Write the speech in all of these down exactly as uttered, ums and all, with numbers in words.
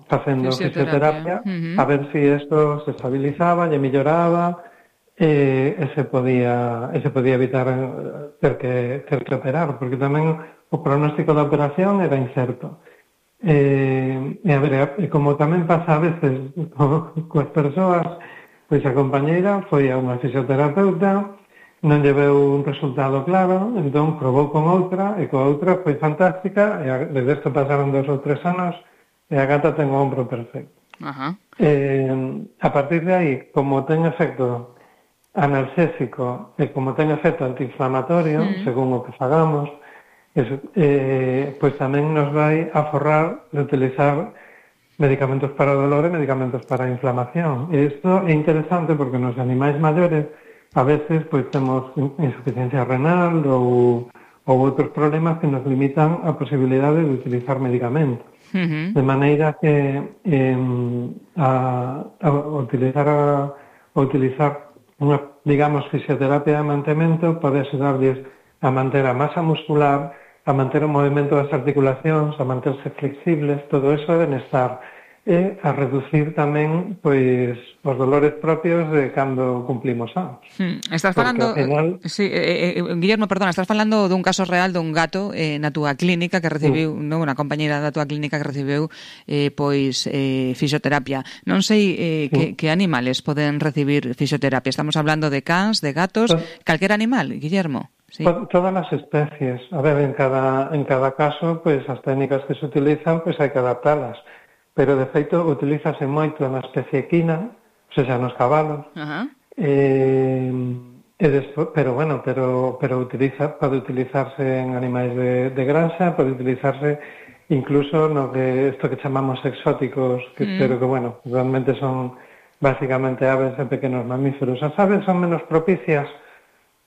facendo Fisioterapia. fisioterapia Uh-huh. a ver se si isto se estabilizaba, lle melloraba e, e se podía e se podía evitar ter que, ter que operar, porque tamén o pronóstico da operación era incerto. E, e a ver, e como tamén pasa a veces co, coas persoas, pois a compañeira foi a unha fisioterapeuta, non lle veu un resultado claro, entón probou con outra, e coa outra foi fantástica, e a, desde isto pasaron dos ou tres anos, e a gata ten o ombro perfecto. Ajá. Eh, a partir de aí, como ten efecto analxésico e como ten efecto antiinflamatorio, mm. según o que fagamos, eso, eh, pois tamén nos vai a forrar de utilizar medicamentos para o dolor e medicamentos para a inflamación. E isto é interesante porque nos animais maiores a veces pois temos insuficiencia renal ou, ou outros problemas que nos limitan a posibilidade de utilizar medicamentos. Uh-huh. De maneira que eh, a, a utilizar a, a utilizar unha, digamos, fisioterapia de mantemento pode axudarlles a manter a masa muscular, a manter o movimento das articulacións, a manterse flexibles, todo eso é benestar. E a reducir tamén pois os dolores propios de cando cumplimos anos. Hmm. Estás falando, final... sí, eh, eh, Guillermo, perdona, estás falando dun caso real dun gato eh, na túa clínica que recibiu, sí. non, unha compañeira da túa clínica que recibiu eh, pois eh, fisioterapia. Non sei eh, sí. que, que animales poden recibir fisioterapia. Estamos hablando de cans, de gatos, sí. calquer animal, Guillermo. Sí. Todas as especies. A ver, en cada en cada caso, pois as técnicas que se utilizan, pois hai que adaptalas. Pero, de feito, utilízase moito na especie equina, ou seja, nos cabalos, uh-huh. eh, e despo, pero, bueno, pero, pero utiliza, pode utilizarse en animais de, de granja, pode utilizarse incluso no que isto que chamamos exóticos, que, mm. pero que, bueno, realmente son básicamente aves e pequenos mamíferos. As aves son menos propicias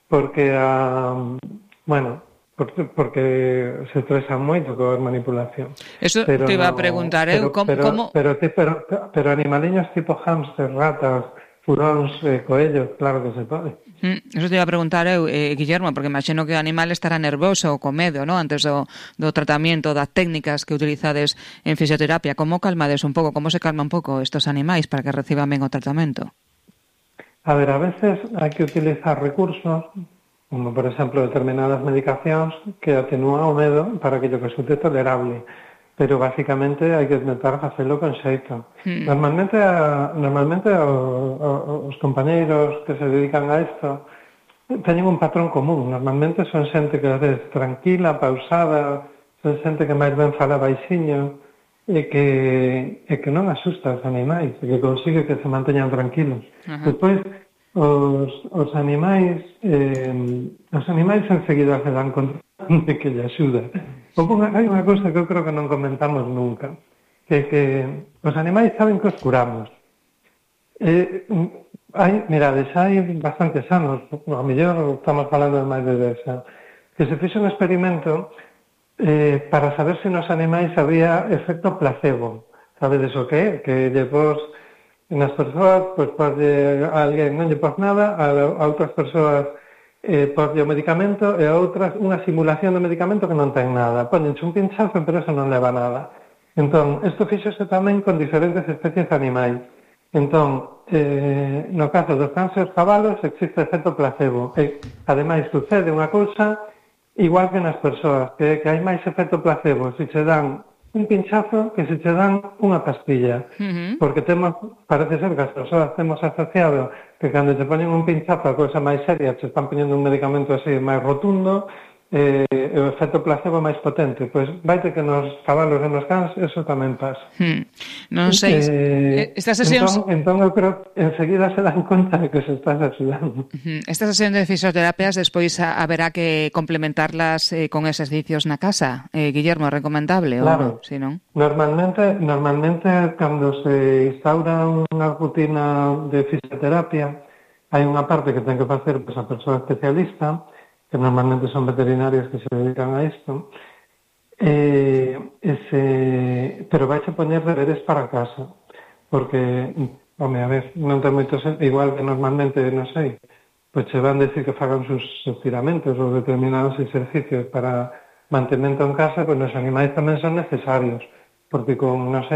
porque, uh, bueno, Porque, porque se estresan moito coa manipulación. Eso pero te iba no, a preguntar, eu, pero, como... Pero, como... pero, pero, pero, pero animaliños tipo hámster, ratas, furóns, eh, coellos, claro que se pode. Mm, eso te iba a preguntar eu, eh, Guillermo, porque imagino que o animal estará nervoso ou con medo, ¿no? Antes do, do tratamento, das técnicas que utilizades en fisioterapia. Como calmades un pouco, como se calma un pouco estos animais para que reciban ben o tratamento? A ver, a veces hai que utilizar recursos, como, por exemplo, determinadas medicacións que atenúan o medo para que lle resulte tolerable. Pero, basicamente, hai que tentar facelo con xeito. Mm. Normalmente, a, normalmente o, o, os compañeiros que se dedican a isto teñen un patrón común. Normalmente son xente que é tranquila, pausada, son xente que máis ben fala baixiño e que, e que non asusta os animais, e que consigue que se manteñan tranquilos. Uh-huh. Despois, Os, os animais eh, os animais enseguida se dan conta de que lle axuda. Hai unha cousa que eu creo que non comentamos nunca, que que os animais saben que os curamos. Eh, hai, mirades, hai bastantes anos, a mellor estamos falando de máis de dez anos, que se fixo un experimento eh, para saber se nos animais había efecto placebo. Sabedes o que é? Que lle pos nas persoas, pois pode a alguén non lle pos nada, a, a outras persoas eh, pos o medicamento e a outras unha simulación do medicamento que non ten nada. Póñense un pinchazo, pero eso non leva nada. Entón, isto fíxose tamén con diferentes especies de animais. Entón, eh, no caso dos cans e os cabalos existe efecto placebo. E, ademais, sucede unha cousa igual que nas persoas, que, que hai máis efecto placebo se se dan un pinchazo que se che dan unha pastilla. Uh-huh. Porque temos, parece ser que as persoas temos asociado que cando te ponen un pinchazo a cousa máis seria, te están poñendo un medicamento así máis rotundo, eh, e o efecto placebo máis potente. Pois vaite que nos cabalos e nos cans eso tamén pasa. Hmm. Non sei, eh, estas sesións... Entón, entón eu creo que enseguida se dan conta de que se estás axudando. Uh-huh. Estas sesións de fisioterapias despois haberá que complementarlas eh, con exercicios na casa. Eh, Guillermo, é recomendable? Claro. Ou, si non? Normalmente, normalmente, cando se instaura unha rutina de fisioterapia, hai unha parte que ten que facer pois, a persoa especialista, que normalmente son veterinarios que se dedican a isto, eh, ese, pero vais a poñer deberes para casa, porque, home, a ver, non ten moito sentido, igual que normalmente, non sei, pois se van decir que fagan sus estiramentos ou determinados exercicios para mantemento en casa, pois os animais tamén son necesarios, porque con, non sei,